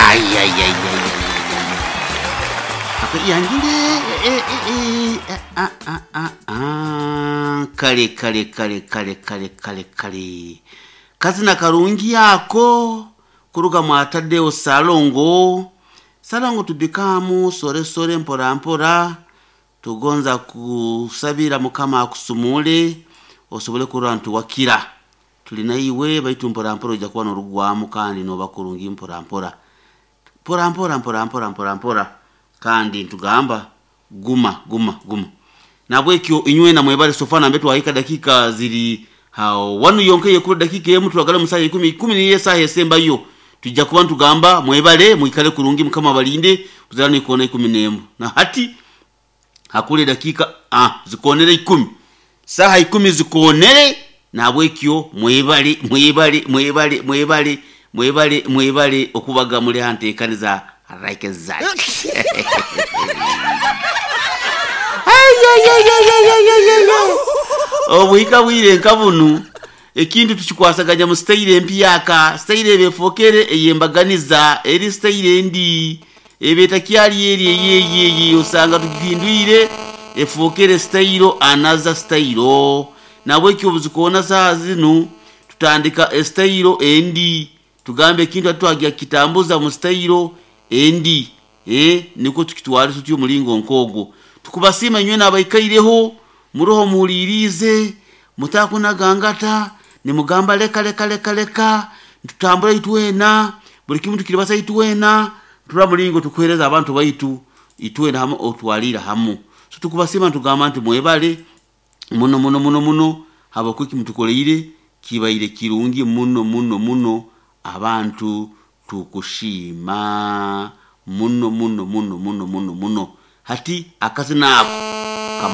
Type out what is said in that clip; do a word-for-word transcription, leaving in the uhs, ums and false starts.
Ay, ay, ay, ay, ay, ay. Yangire eh, eh, eh, ah, ah, ah, ah. Kale kale kale kale kale kale kale kazina karungi ako kuruga mwataddewo salongo salongo tubikamu sore sore mpora mpora tugonza kusabira mukama akusumule osobole kurora ntuwakira tulina iwe baitu mpora mpora ojja kuba norugwamu kandi noba kurungi mpora mpora mpora mpora mpora mpora mpora mpora kandi ntugamba guma guma guma nabwekyo inywe namwebale sofa nambe twahika dakika ziri hao wanu yonkeye kuri dakika emu turagala musaha ikumi ikumi niye saha esembayo tujja kuba ntugamba mwebale mwikale kurungi mukama balinde kuzana ikona ikumi nemu na hati hakule dakika ah, zikonere ikumi saha ikumi zikonere nabwekyo mwebale mwebale mwebale mwebale mwebale mwebale okubaga muli hantekaniza like that obuhika bwire nka bunu ekintu tukikwasaganya mu sitayire empyaka sitayire ebefokere eyembaganiza eri sitayire endi ebetakyali eri eyeyeyi osanga tugihindwire efokere sitayiro anaza sitayiro nabwekyo obuzikoona saha zinu tutandika esitayiro endi tugambe ekintu atitwagira kitambuza mu sitayiro endi eh, niko tukitwale tutyo omulingo nkogwo tukubasiima inywe nabaikaireho muroho muhulirize mutakunagangata nimugamba leka leka leka leka tutambula itwena buli kimu tukiribasa itwena tura mulingo tukuhereza abantu baitu itwena hamu otwalira hamu so tukubasiima tugamba nti mwebale muno muno muno muno habwokuba mutukoleire kibaire kirungi muno muno muno abantu tukushima muno muno muno muno muno muno hati akazina ako